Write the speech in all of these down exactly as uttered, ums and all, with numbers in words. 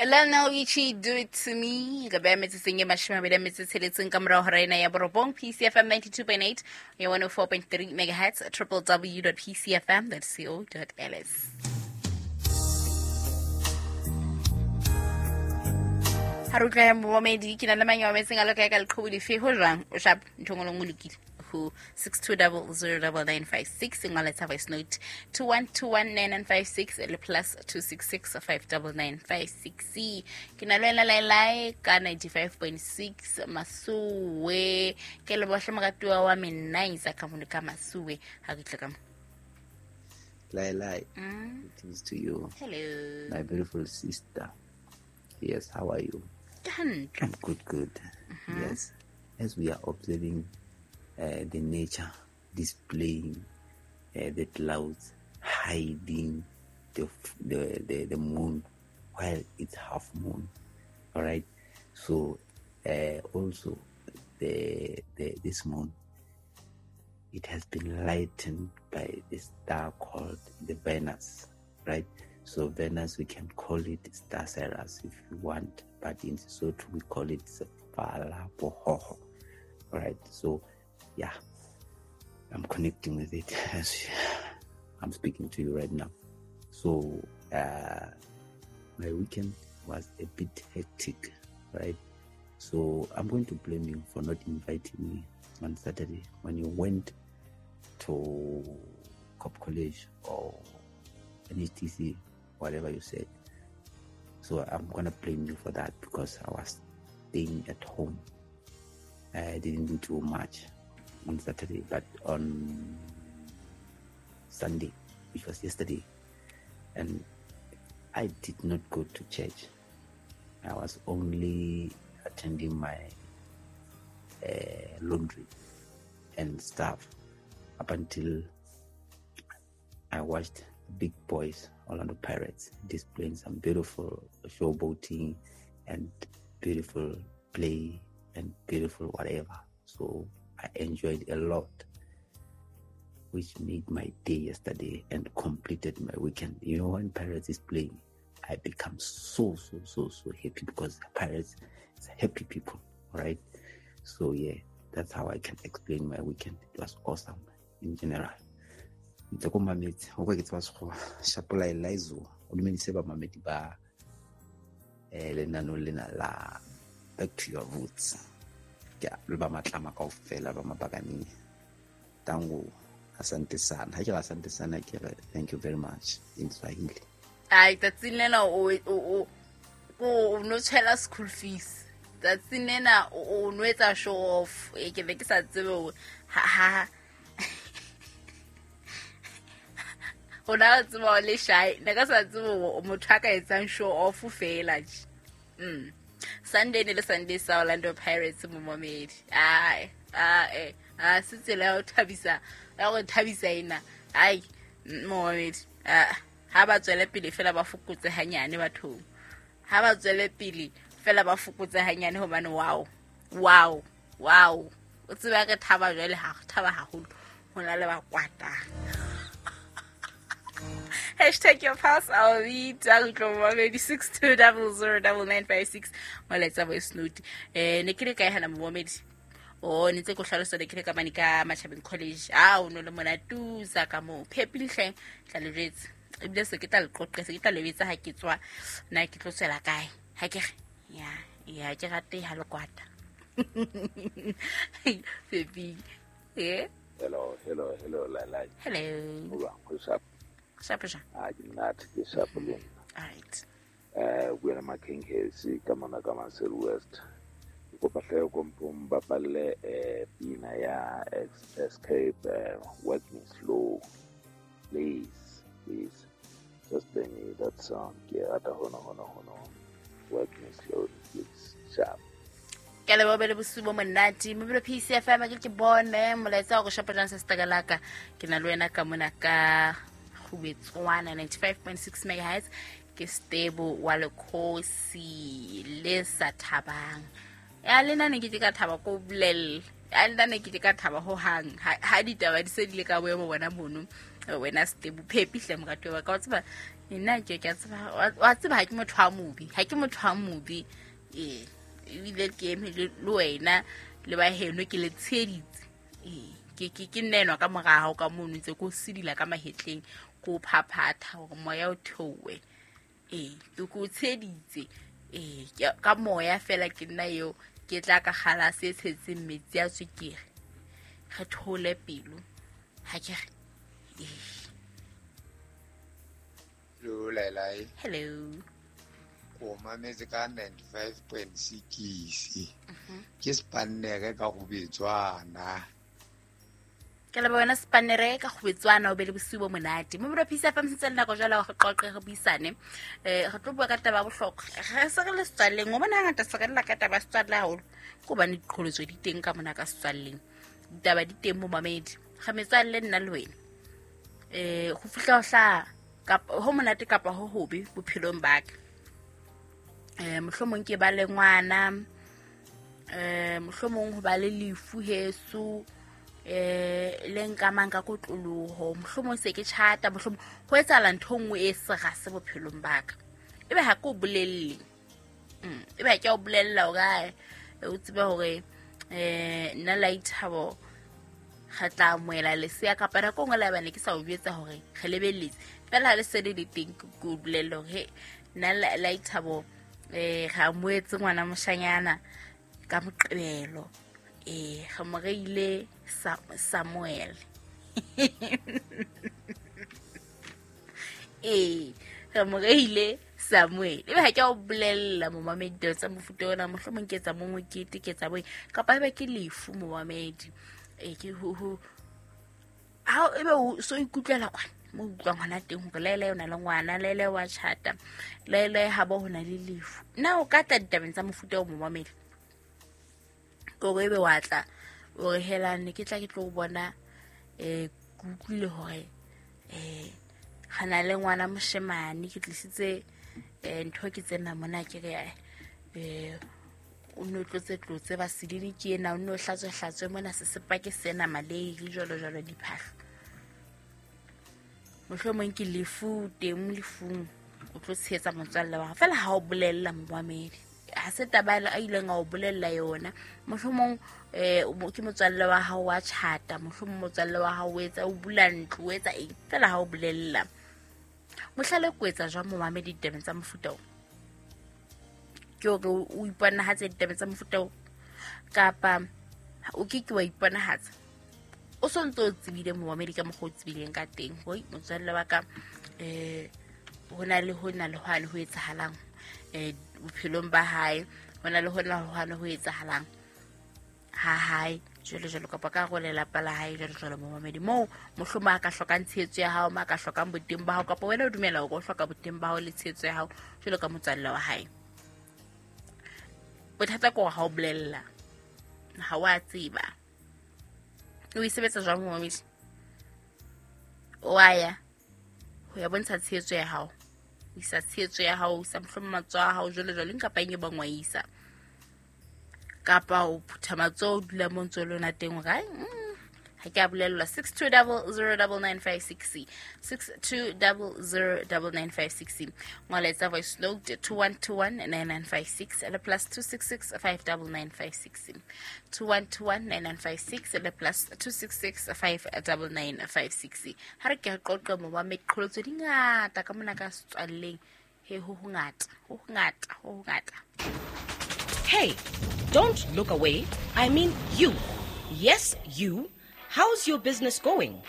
Lionel Richie, Do It To Me. Ka beha metsotsong e mashome a mabedi a metso e tsheletseng ka morao hora ena ya borobong. P C F M ninety-two point eight ya one oh four point three megahertz, triple w dot p c f m dot co dot l s. Ha re utlwa ya momamedi, ke na le mang ya mametseng a le kae ka leqhubu lefe? Ho jwang? O sharp, ntho e nngwe le nngwe e lokile. Ho six two double zero double nine five six, ngola tsa voice note two one two one nine nine five six le plus two six six five double nine five six. Ke na le wena Lailai ka ninety-five point six Masuwe. Ke le bohle moratuwa wa Menaisa ka mono ka Masuwe. Ha ke tle ka mo. Lailai, mm. Greetings to you. Hello. My beautiful sister. Yes, how are you? Ke hantle. I'm good, good. Mm-hmm. Yes. As we are observing Uh, the nature displaying uh, the clouds hiding the, the, the, the moon while it's half moon. All right. So uh, also the, the this moon, it has been lightened by the star called the Venus, right? So Venus, we can call it Star Cyrus if you want, but in Sesotho we call it Sefala Bohoho. All right. So yeah, I'm connecting with it as I'm speaking to you right now. So uh, my weekend was a bit hectic, right? So I'm going to blame you for not inviting me on Saturday when you went to Cop College or N H T C, whatever you said. So I'm gonna blame you for that because I was staying at home. I didn't do too much on Saturday, but on Sunday, which was yesterday, and I did not go to church. I was only attending my uh, laundry and stuff up until I watched the big boys, Orlando Pirates, displaying some beautiful showboating and beautiful play and beautiful whatever. So I enjoyed a lot, which made my day yesterday and completed my weekend. You know, when Pirates is playing, I become so, so, so, so happy because Pirates is happy people, right? So, yeah, that's how I can explain my weekend. It was awesome in general. Ntse ko mametse, o kwa ke tseba Sekgowa, Shapola Elizo, o dumedise ba mamedi ba, eh, lenano lena la Back to Your Roots. Ke a le ba matlama kaofela ba mabakaneng. Tango, asante sana. Ha ke re asante sana, ke re thank you very much in Swahili. Ai, tsatsing lena o, o, o, o no tshela school fees. Tsatsing lena o, o no etsa show off. E ke be ke sa tsebe hore ha, ha. O na tseba o le shy. Ne ka sa tsebe hore motho a ka etsang show off fela tje. Mm. Sunday ne le Sunday sa Orlando Pirates momamedi. Ai, ai, a se tsela ya ho thabisa, ya ho thabisa ena. Ai, momamedi. Ah, ha ba tswele pele fela ba fokotse hanyane bathong. Ha ba tswele pele fela ba fokotse hanyane hobane wow. Wow. Wow. O tseba re thaba jwale ha re thaba haholo. Ho na le ba kwata. Hashtag your pulse, I'll read momamedi six two double zero double nine five six. Molaetsa voice note. Eh, ne ke le kae hana momamedi? Oh, ne ntse ke o hlalosa ne ke le ka mane ka Machabeng College. Ah, o no le mona tusa ka moo. Phepile hle, tla le jwetsa. Ebile se ke tla le qoqe, se ke tla le betsa ha ke tswa na ke tlo tswela kae. Ha ke re, ya, ya ke rate ha le kwata. Phepi. Eh? Hello, hello, hello, Lailai. Hello. Hola, what's up? Sharp, sharp. Ah, ke monate, ke sharp le nna. All right. Eh, o buela Makhenkesi ka mona ka Maseru West. Ke kopa hle o kompo mbapalle, eh, pina ya Escape, eh, Work Me Slow. Please, please. Just play me that song. Ke rata hona, hona, hona. Work Me Slow, please. Sharp. Ke leboha le bosiu bo monate. Mobile P C F M ke ke bone molaetsa wa go shapa jang se setakalaka. Ke na le wena ka mona ka Khubetswana ninety-five point six megahertz. Ke stable wa lekgosi le sa thabang. Ya lena ne ke ka thaba ko bolelle. Ya lena ne ke ka thaba ho hang. Ha ditaba di se di le ka boemo bona mono. Wena stable phepi hle moratuwa wa ka. O tseba Nna ke ke tseba wa tseba ha ke motho wa mobi, ha ke motho wa mobi. Eh, ebile ke eme le wena le ba heno ke le tsheditse. Eh, ke ke ke nna enwa ka mora hao ka mono ntse ko sidila ka mahetleng ko phaphatha hore moya o theowe. Eh, ke ko tsheditse. Eh, ka moya fela ke nna eo ke tla ka kgalase e tshetseng metsi a tswekere. Re thole pelo. Ha ke re. Eh. Hello, Lailai. Hello. O mametse ka ninety-five point six. Ke spannere ka go betswana. Ke le bona spannere ka go betswana o be le bosiu bo monate. Mo bro Peace F M sentse le nako jwale go qoqe re buisane. Eh re tlo bua ka taba ya bohlokwa. Re se re le setswalleng, o bona ngata se re lla ka taba ya setswalle haholo. Ke hobane diqholotso di teng ka mona ka setswalleng. Ditaba di teng mo mamedi. Ga metswalle nna le wena. Eh go fihla ho hla kapa ho monate kapa ho hobe bophelong ba ka. Eh mohlomong ke ba le ngwana, eh mohlomong ho ba le lefu heso, eh le nkamang ka kotloloho, mohlomong se ke tjhata, mohlomong ho etsahala ntho nngwe e serase bophelong ba ka. Ebe ha ke o bolelle. Mm, ebe ha ke o bolella hore o tsebe hore eh nna Laithabo re tla amohela lesea kapa nako nngwe le bane ke sa o jwetsa hore re lebelletse. Fela ha le se le le teng ke o bolelle hore nna Laithabo eh re amohetse ngwana moshanyana ka Moqebelo. Eh re mo reile Samuel. Eh re mo reile Samuel. Ebe ha ke o bolella momamedi tsa mofuta ona, mohlomong ke etsa mongwe kete ke etsa boeng kapa ebe ke lefu momamedi. E ke ho ho ha ebe o so ikutlwela kwana mo utlwang hona teng hore Laila o na le ngwana, Laila wa tjhata, Laila ha bo hona le lefu. Na o ka tla ditabeng tsa mofuta o momamedi? Ke hore ebe wa tla o re helane ke tla ke tlo bona eh ke utlwile hore eh ga na le ngwana moshemane ke tlisitse eh ntho ke tsena mona ke re eh o no tlotse tlotse ba sedini ke ena o no hlatswe hlatswe mona se sepake sena malei le jwalo jwalo diphahlo. Mohlomong ke lefu teng lefung o tlo tshehetsa motswalle wa fela ha o bolella momamedi. Ha se taba a ileng a o bolella yona. Mohlomong eh ke motswalle wa hao wa tjhata, mohlomong motswalle wa hao o etsa o bula ntlo o etsa eng fela ha o bolella. Mohlala ko etsa jwang momamedi ditabeng tsa mofuta o? Ke hore o iponahatse ditabeng tsa mofuta o kapa o ke ke wa iponahatsa? O so ntso o tsebile momamedi ka mokgwa o tsebileng ka teng hoi motswalle wa ka eh ho na le ho na le hwane ho etsahalang eh bophelong ba hae, ho na le ho na le hwane ho etsahalang ha hae jwalo jwalo kapa ka go lelapa la hae jwalo jwalo momamedi. Moo mohlomong a ka hlokang tshehetso ya hao, ma ka hlokang boteng ba hao kapa wena o dumela hore o hloka boteng ba hao le tshehetso ya hao jwalo ka motswalle wa hae. Bothata ke hore ha o bolella, ha o a tseba. O e sebetsa jwang momamedi? O a ya ho ya bontsha tshehetso ya hao, o isa tshehetso ya hao, o isa mohlomong matsoho a hao jwalo jwalo kapa eng e bang wa isa. Kapa o phutha matsoho o dula mo ntso le yona teng hore ai ha ke a bolellwa. Six two double zero double nine five six six two double zero double nine five six. Ngola etsa voice note two one two one nine nine five six le plus two six six five double nine five six two one two one nine nine five six le plus two six six five double nine five six. Ha re ke re qoqe mo ba meqholotso di ngata ka mona ka setswalleng. He ho ho ngata, ho ho ngata, ho ho ngata. Hey, don't look away. I mean you. Yes, you. How's your business going?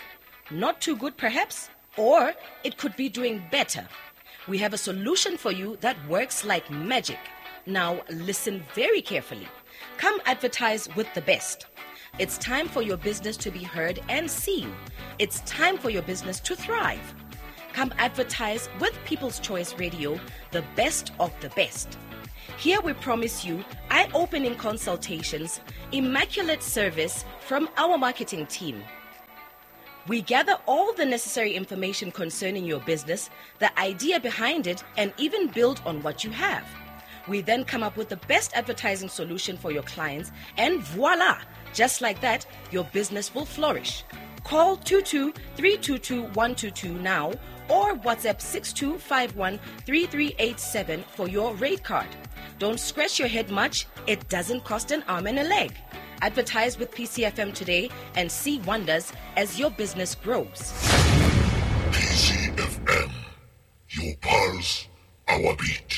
Not too good, perhaps? Or it could be doing better. We have a solution for you that works like magic. Now, listen very carefully. Come advertise with the best. It's time for your business to be heard and seen. It's time for your business to thrive. Come advertise with People's Choice Radio, the best of the best. Here we promise you eye-opening consultations, immaculate service from our marketing team. We gather all the necessary information concerning your business, the idea behind it, and even build on what you have. We then come up with the best advertising solution for your clients, and voila! Just like that, your business will flourish. Call two two three two two one two two now or WhatsApp six two five one three three eight seven for your rate card. Don't scratch your head much. It doesn't cost an arm and a leg. Advertise with P C F M today and see wonders as your business grows. P C F M, your pulse, our beat.